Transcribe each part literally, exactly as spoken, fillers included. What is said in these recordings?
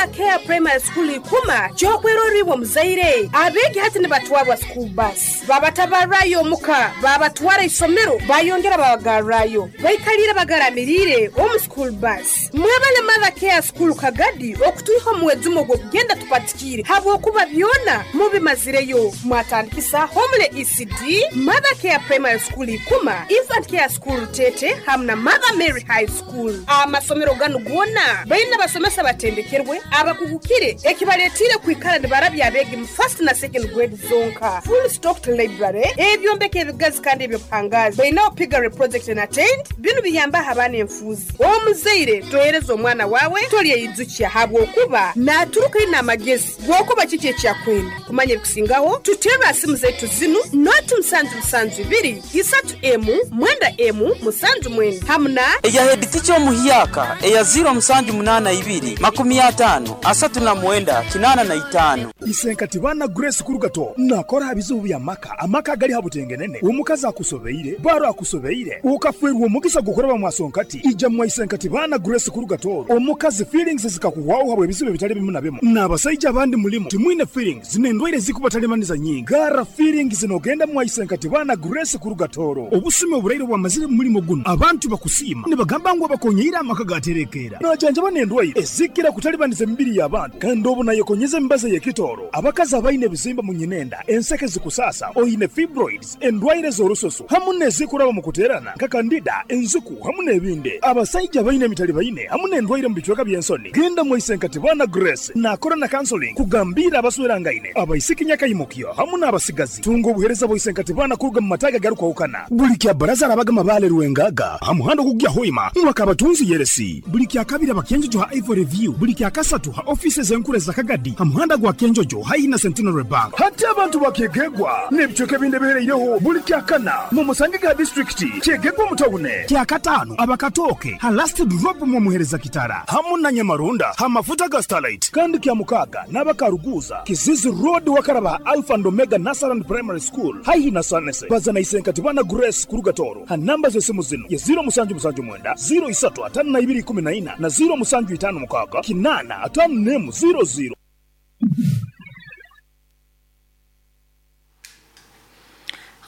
Mother Care Primary School ikuma kyokweroribwa muzaire abeegi hati nibatwarwa school bus babatabarrayo omuka babatwara isomero bayongera babagarrayo baikalire bagaramirire omu school bus. Mwebale Mother Care School Kagadi okutuiha omuwezumo gw'okugenda tupatikire habwokuba byona mubimazireyo. Mwatandikisa Homele E C D, Mother Care Primary School ikuma, Infant Care School Tete hamwe na Mother Mary High School. Amasomero ganu gona baina basomesa batendekerwe abakugukire ekibaletire kwikara nibarabya abeegi mu first na second grade zonka. Full stocked library ebyombeko ebigazi kandi ebyobuhangazi baina opigare project na tent binu biyamba abaana enfuuzi. Omuzaire tohereza omwana wawe tolyeyijukya habwokuba naturuka ina amagezi gwokuba kiki ekyakwenda kumanya ebikusingaho tutera simu zaitu zinu noti musanju musanju ibiri isatu emu mwenda emu musanju mwenda hamuna eya head teacher omuhyaka eya ziro musanju munana ibiri makumi atano asatu na mwenda kinana na itano. Isenkati bana Grace Kurugato nakora bizibu bya maka amaka gali habutengenene omukazi akusobeire baro akusobeire ukafwerwa omugisa gukoraba mwasonkati ija mwa Isenkati bana Grace Kurugato omukazi feelings zikakuwaho habwe bizibu bitali bimu na bimu n'abasajja abandi mulimu timwine feelings zinendwaire zikubatalemaniza nyingi gara feelings zinogenda mwa Isenkati bana Grace Kurugatoro obusime oburaire bwamazire mulimo guno abantu bakusima nibagamba ngu abakonyeira amaka gaterekera najanja banendwaire ezikira kutalibaniza emibiri y'abantu kandi obu nayekonyeza embaza y'ekitoro abakazi abaine ebizimba mu nyinenda enseke zikusasa oyine fibroids endwaire z'orusoso hamu n'ezikuraba mu kuterana nka kandida enzuku hamu n'ebindi abasajja baine emitali baine hamu n'endwaire mu bicweka by'ensoni genda mu Isenkati bana Grace nakora na counseling kugambira abaswerangaine abaisiki nyakayimukyo hamu n'abasigazi tunga obuhereza bwa Isenkati bana kuruga mu mataga garukwahukana buli kya baraza arabaga mabale ruwengaga hamuhando kugya hoima mwakabatunzi yeresi buli kya kabiri abakenjojo ha Ivory View buli kya kasatu ha offices enkure za Kagadi hamuhanda gwa Kenjojo haina Centenary Bank hati abantu bakegegwa n'ebicweka ebindi bihereireho buli kya kana mu Musangiga district kyegegwa mutawune kya katano abakatoke ha last drop mu muhereza kitara hamu na Nyamarunda ha mafuta ga Starlight kandi kya mukaga n'abakaruguza Kizizi Road wakaraba Alpha and Omega Nasaran Primary School haihi na Sanese bazana Isenkati bana Grace Kurugatoro ha namba z'esimu zino ya ziro musanju musanju mwenda ziro isatu atano na ibiri kumi na ina na ziro musanju itano mukaga kinana atano nemu ziro ziro.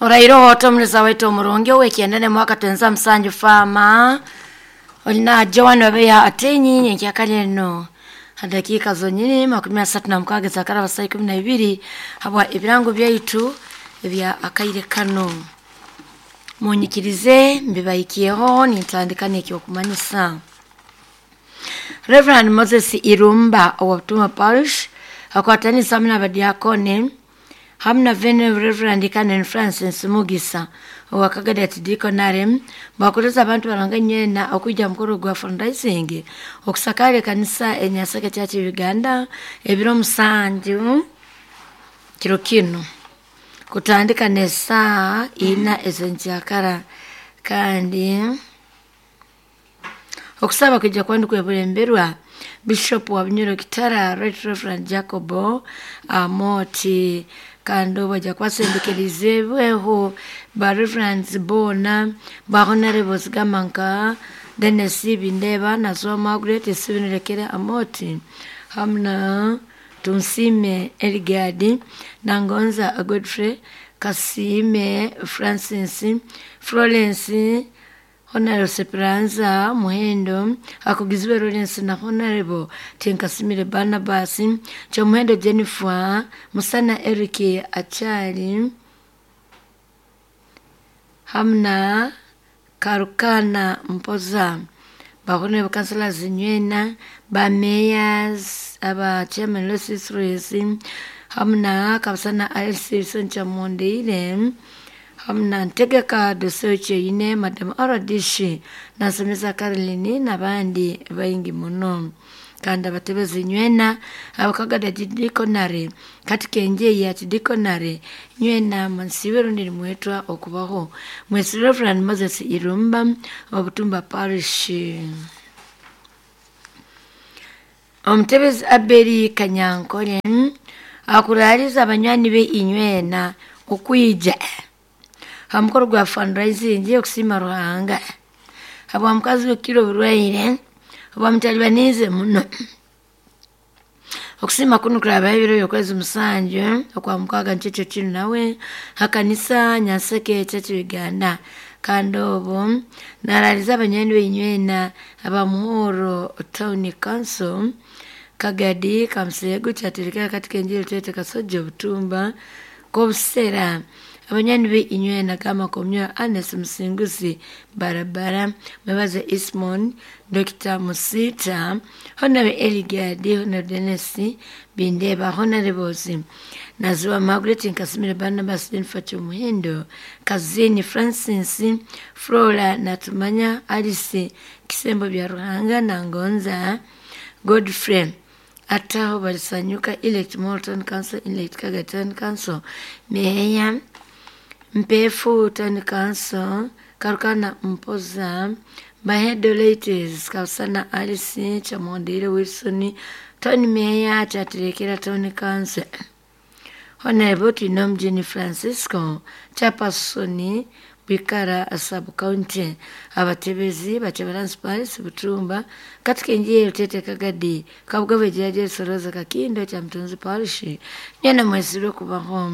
Orairo hoto mleza wetu omurungi owekiendene mwaka tenza msanju fama olina Joan wabeya atenyi nyenkyakali eno dakika zonyini makumi asatu na mukaaga zakaraba saa ikumi na ibiri habwa ebirango byaitu ebya akaire kano munyikirize mbibaikieho nintandika n'ekyokumanyisa. Reverend Moses Irumba owa Butuma Parish akwatanisa hamwe n'abadiakoni hamwe na Venerable Reverend Canon Francis Mugisa owa Kagadi Diaconary bakoleza abantu baranga nyena okujja mukoro gwa fundraising okusakara ekanisa enyaseke Church Uganda ebiro musanju kiro kino kutandika nesaa ina ezenjakara kandi okusaba kujja kwandi kwebulemberwa Bishop wa Bunyoro Kitara Right Reverend Jacobo Amoti kandi bajja kwasendekerizeweho ba Reverends bona ba Honorables Gamanka Dennis Bindeba na Zwa Margaret Sibinrekere Amoti hamna Tunsime Eligadi Nangonza Godfrey Kasime Francis Florence Honorable Seperanza Muhendo akugizwe Lawrence na Honorable Tinkasimire Barnabas Chomuhendo Jennifer Musana Eric Achali hamna Karukana Mpoza ba honorable councillors nywena ba mayors aba chairman Lewis Rezi hamna kabasana L C Soncha Mondeire hamna ntegeka doseche ine madam Aradishi nasomesa Caroline n'abandi bayingi muno kandi abatebezi nywena abakagada diaconary kati kenje ya diaconary nywena mansiwe rundi mwetwa okubaho mwesi Reverend Moses Irumba wa Butumba Parish. Omutebezi Abeli Kanyankole akuraliza abanywani be inywena okwija hamukoro gwa fundraising okusima Ruhanga habwa mukazi wekiro burwaire obwamutalibanize muno. Okusima kuno kurabaho ebiro by'okwezi musanju okwa mukaaga nikyo kinu nawe hakanisa Nyanseke Church Uganda. Kandi obu naraliza abanywani beinywena aba Muhoro Town Council Kagadi Kamusego kyaterekera katika enjiri Tete Kasojo Butumba Kobusera. Abanywani be inywena kama komywa Agnes Musinguzi Barabara Mwebaze Ismon Doctor Musita Honorable Eligadi Honorable Dennis Bindeba Honorable Naziwa Margaret Nkasimire Barnabas Jennifer Muhindo Kazini Francis Flora Natumanya Alice Kisembo bya Ruhanga na Ngonza Godfrey Ataho Balisanyuka Elect Morton Council Elect Kaga Town Council Meya Mpefu Town Council Karukana Mpoza Bahedo Ladies Kausana Alice Chamondire Wilson Tony Meya Chatirekera Town Council Honorable Tinom Jenny Francisco Chapasoni Bikara Sub County abatebezi bachebaransi Paris Butumba katika injili Tete Kagadi Kabugave Jaje Soroza Kakindo cha Mtunzi Parish nyana mwesirwe kubaho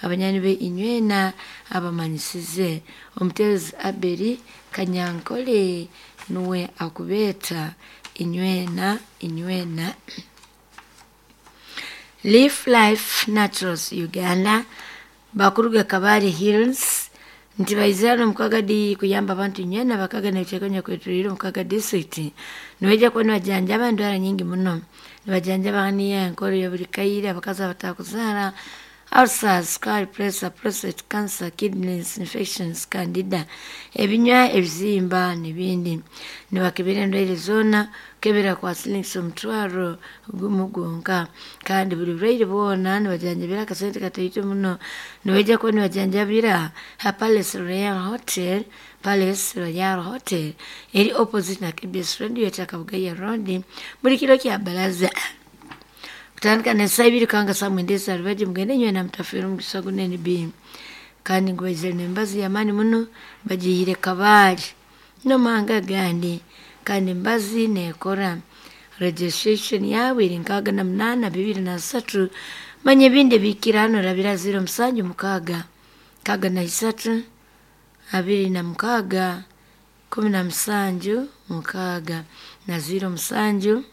abanyani be inywena abamanyisize omutebezi Aberi Kanyankole nuwe akubeta inywena inywena. Leaf Life Naturals Uganda bakuruga Kabale Hills nti baizana mukagadi kuyamba abantu nywena bakaga nechekonya kwetuliro mukaga district niweja kuba nibajanjaba endwara nyingi muno nibajanjaba haniya enkoro ya buli kaire abakazi abatakuzara ulcers, scar pressure, prostate cancer, kidneys infections, candida, ebinywa ebizimba n'ebindi. Nibakebera endwaire zoona kebera kwa silingi omutwaro gumu gwonka kandi buli bulwaire bwona nibajanjabira akasente kataito muno. Nibaija kuba nibajanjabira ha Palace Royal Hotel Palace Royal Hotel eri opposite na K B S Radio ya Kabugaya Road buli kiro kya baraza kutandika na ibiri kanga saa mwenda ezarubaji mugende nywe na mutafeera omugisa gunene B. Kandi ngu baizire n'embazi y'amaani muno bagihire Kabale n'amahanga agandi kandi embazi neekora. Registration yawe eri nkaaga na munaana bibiri na satu. Manya ebindi ebikira hano orabira ziro musanju mukaaga nkaaga na isatu abiri na mukaaga kumi na musanju mukaaga na ziro musanju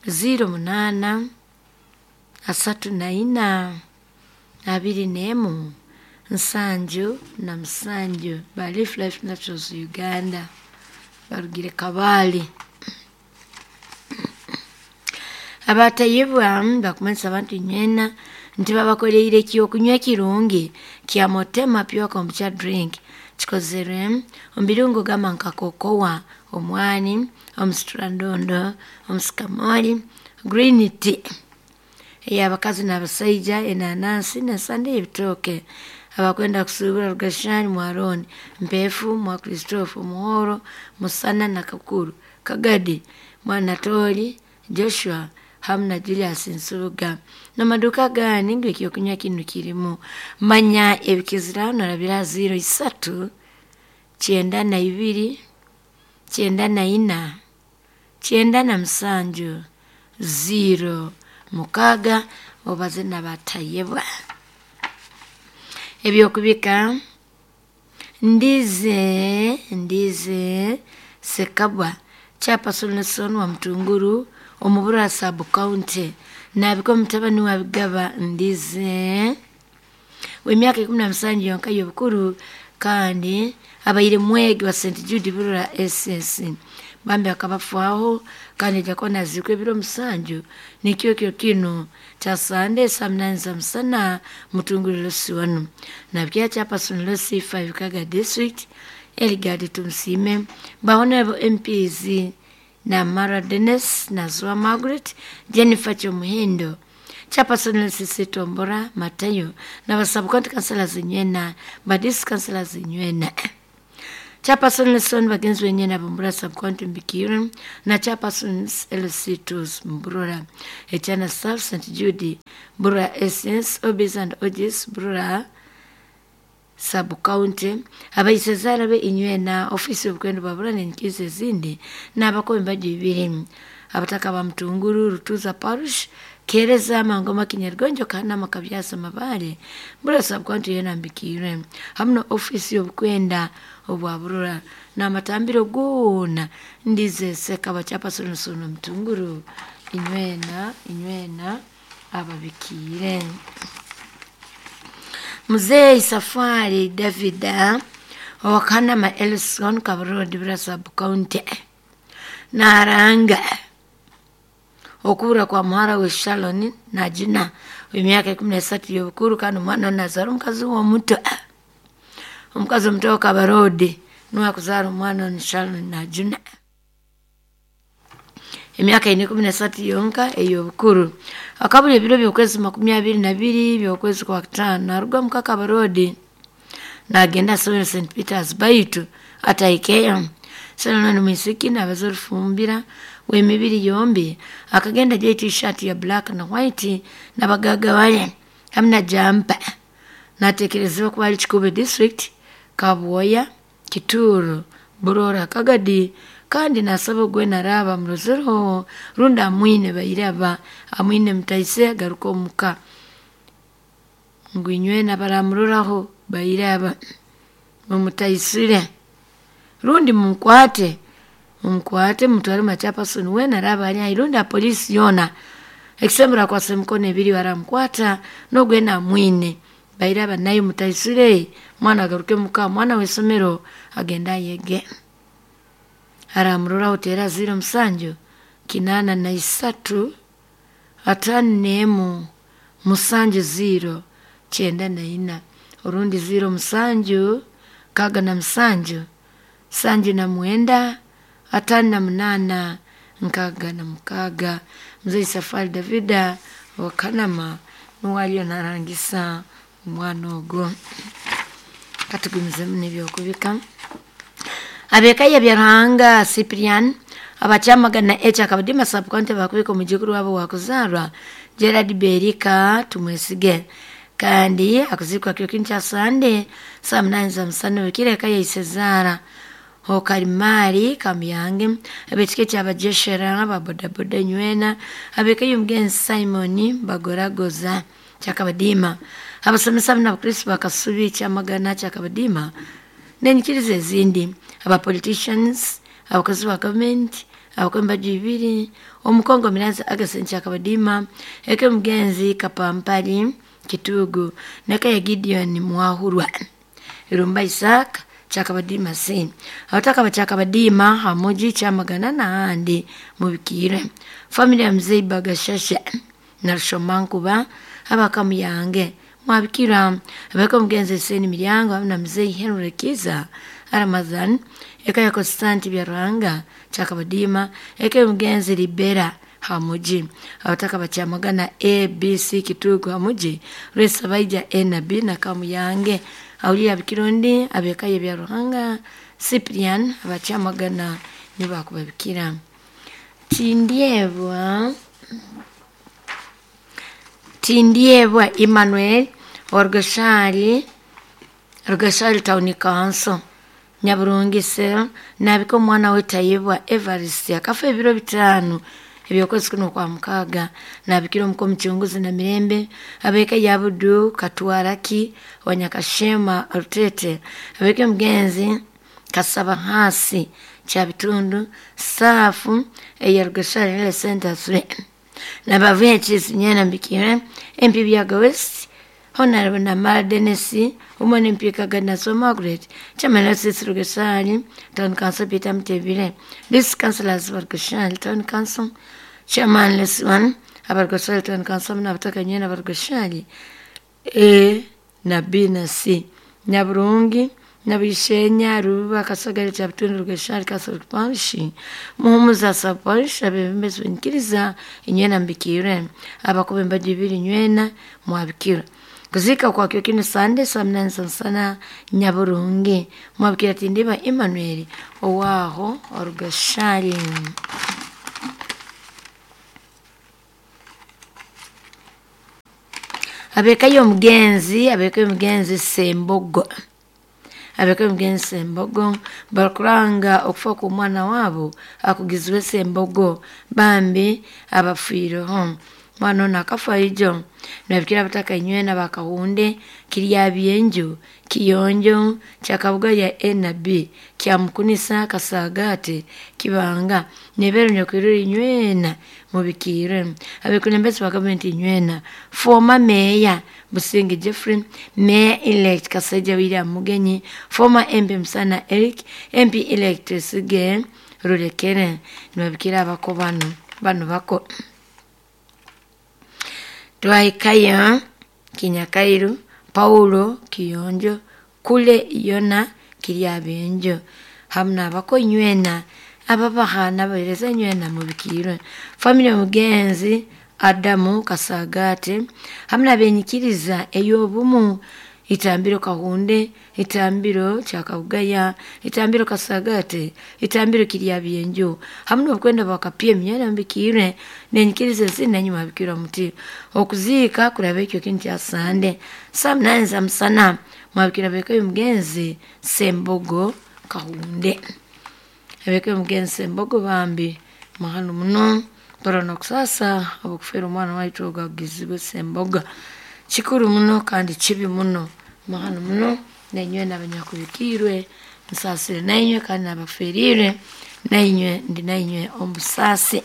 ziro munaana asatu na ina abiri n'emu nsanju na musanju. Ba Leaf Life Naturals Uganda barugire Kabale. Abatayibwa bakumanyisa abantu nywena nti babakoreire ekyokunywa ekirungi kya Motema Pure Kombucha Drink kikozerwe omu birungo gamba nka kokowa, omwani, omusitrandondo, omusikamoli, green tea ey'abakazi n'abasaija, enanansi n'ensande y'ebitooke. Abakwenda kusuubura Rugashani Mwaroni, Mpefu mwa Christopher Muhoro, Musana na Kakuru, Kagadi Mwanatoli, Joshua hamu na Julius Nsubuga. N'amaduuka gandi ngu ekyokunywa kinu kirimu. Manya ebikizirano orabira ziro isatu kyenda na ibiri kyenda na ina kyenda na musanju ziro mukaaga obaze n'abatayebwa. Ebyokubika ndize ndize Sekabwa Chairperson wa Mutunguru omubura sub county nabiko mutabani wa Bigaba ndize w'emyaka ikumi na musanju yonka y'obukuru kandi abaire mwegi wa Saint Jude Burora S S bambi akabafwaho kandi ajja kuba naziikwa ebiro musanju nikyo kyo kino kya Sande saa munani za musana Mutunguru Losi wanu nabya Chairperson Losi five Kaga District Eligadi Tumusime ba Honorable M Ps na Mara Dennis na Zua Margaret Jennifer Chomuhindo Chairperson Losi Tombora Matayo na basub-county councillors nywena ba district councillors nywena Chairperson Lesson bagenzi wenyena Bumbura sub-county Mbikiro na Chairperson L C two Mburora Echana South Saint Jude Burora S S Obis and Ojis Burora sub-county abaisezara be inywena ofisi y'obukwendo bwa Burora n'enkizo ezindi n'abakombe bibiri abataka ba Mutunguru Rutuza Parish Kereza Mangoma Kinyargonjo Kanama Kabyasa Mabale Burora Sub-County yena mbikire hamwe na ofisi y'obukwenda obwa Burora n'amatambiro goona ndize Sekaba Chapasonosono Mutunguru inywena inywena ababikiire. Mzee Safari Davida owakanama Elson Kabarodi Burora Sub-County naranga okubura kwa muhara we Shalon Najina w'emyaka ikumi n'esatu y'obukuru kandi omwana nazaara omukazi w'omuto omukazi omuto wa Kabarodi niwe akuzaara omwana onu Shalon Najina emyaka ine ikumi n'esatu yonka ey'obukuru. Akabura ebiro by'okwezi makumi abiri na biri by'okwezi kwa kutaano naruga muka Kabarodi nagenda asomere Saint Peters baitu atahikeyo. Shalon mwisiki nabaza orufumbira w'emibiri yombi akagenda ajwaire t-shirt ya black na white nabagagawale hamwe na jampa natekerezebwa kuba ari Kikuube district Kabwoya Kituuru Burora Kagadi kandi nasaba ogwe naraba murozereho rundi amwine bairaba amwine mutaise agaruka omuka ngu inywena baramuroraho bairaba mumutaisire rundi mumukwate mumukwate mutware machapasoni wena araba ari ahi rundi apolisi yoona ekisembera akwase emikono ebiri baramukwata n'ogwena amwine bairaba naye mutaisire mwana agaruke muka mwana w'isomero agende ayege. Aramuroraho teera ziro musanju kinaana na isatu ataano n'emu musanju ziro kyenda na ina orundi ziro musanju nkaaga na musanju sanju na mwenda ataano na munaana nkaaga na mukaaga. Mzee Safari Davida wa Kanama nuwe ariyo narangisa omwana ogwo. Katugumizemu n'ebyokubika. Ab'eka ya Byaruhanga Cyprian abakyamagana H Akabadima Sub-County bakubika omujukuru wabo wakuzaarwa Gerard Berika Tumwesige kandi akuzikwa kiro kinu kya Sande saa munani za musana wikire eka ya Isezaara Okarimari Kamuyange ab'ekika ekyabajeshera ababodaboda nywena ab'eka y'omugenzi Simon Bagoragoza Kyakabadima abasomesa n'abakristo bakasubi Kyamagana Kyakabadima n'enyikiriza ezindi aba politicians abakozi ba gavumenti abakombe bibiri omukongo Miranzi Augustine Kyakabadima eka y'omugenzi Kapampali Kitugu n'eka ya Gideon Mwahurwa Irumba Isaac Kyakabadima C abataka ba Kyakabadima Hamuji Kyamagana n'ahandi mubikire. Family ya Mzee Bagashasha na Rushomankuba abakamuyange mwabikira abeka omugenzi Seni Miryango hamwe na Mzee Henry Kiza Ramadhan eka ya Constantine Byaruhanga Kyakabadima eka y'omugenzi Libera Hamuji abataka ba Kyamagana A B C Kitugu Hamuji Rwesabaija A na B na Kamuyange awulira abikirundi abeka ye Byaruhanga Cyprian abakyamagana nibo bakubabikira. Tindyebwa Tindyebwa Emmanuel wa Rugashari Rugashari Town Council Nyaburungi Cell nabika omwana we Tayebwa Evarist akafa ebiro bitaano ebyokwezi kuno kwa mukaaga nabikira omuka omuchunguzi na mirembe abeka ya Budu Katwaraki Wanyakashema Rutete abeka omugenzi Kasaba Hasi Kyabitundu Saafu eya Rugashari Health Center three nabavuye Kisinyena mbikire M P Byaga West Honorable Namara Dennis umwe M P Kaganazo Margaret Chairman wa Sisi Rugashari Town Council Peter Mutebile District Councillors Rugashari Town Council Chairman Leswan Abarugashari Town Council n'abataka nyene Abarugashari A na B na C Nyaburungi Nabishenya Ruba Kasagari Kyabitundu Rugashari Catholic Parish Muhumuza Sub Parish abebembezi b'enyikiriza inywena mbikire abakuba embaju ibiri nywena mwabikira. Kuzika kwa kyo kinu Sande saa munani za musana Nyaburungi mwabikira Tindiba Emmanuel owaho Rugashari. Abeka y'omugenzi abeka y'omugenzi Sembogo Abeka omugenzi Sembogo bakuranga okufa kw'omwana waabo akugizibwe Sembogo bambi abafiireho. Mwana ono akafa ijo nabikira abataka inywena bakahunde kirya byenju kiyonjo kyakabuga ya A na B kyamukunisa kasagate kibanga nebero nyakwirire inywena mubikire. Abekulembezi ba gavumenti inywena former mayor Businge Jeffrey, mayor elect Kasaija William Mugenyi, former M P Musana Eric, M P elect Sige Rulekere nibabikira abako bano bano bako. Twaikaya Kinyakairu Paulo Kiyonjo kule Yona Kiryabenjo hamna abako inywena ababahana bahereza inywena mubikirwe. Family omugenzi Adamu Kasagate hamna benyikiriza eyobumu itambiro Kahunde, itambiro Kyakabugaya, itambiro Kasagate, itambiro Kiryabyenjo hamwe okwenda bakapye emyera mbikire nenyikiriza zina nyuma bikira muti okuziika kuraba ekyo kintu kya Sande saa munane za musana mwabikira beka omugenzi Sembogo Kahunde. Abeka omugenzi Sembogo bambi mahano muno torona kusasa abokufera omwana waitu ogagizibwe Semboga kikuru muno kandi kibi muno mahano muno nainywe n'abanyakubikirwe nsasire nainywe kandi n'abaferire nainywe ndi nainywe omusasi.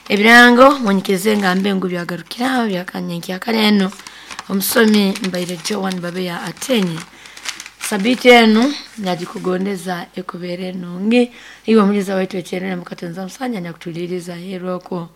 Ebirango munyikirize ngambe ngu byagarukiraho byakanyenkya eno omusomi mbaire Joan Babeya Atenyi. Sabiti enu nagikugondeza ekubere nungi iwe muliza waitu ekyerere mukatenza musanya nyakutuliriza heroko.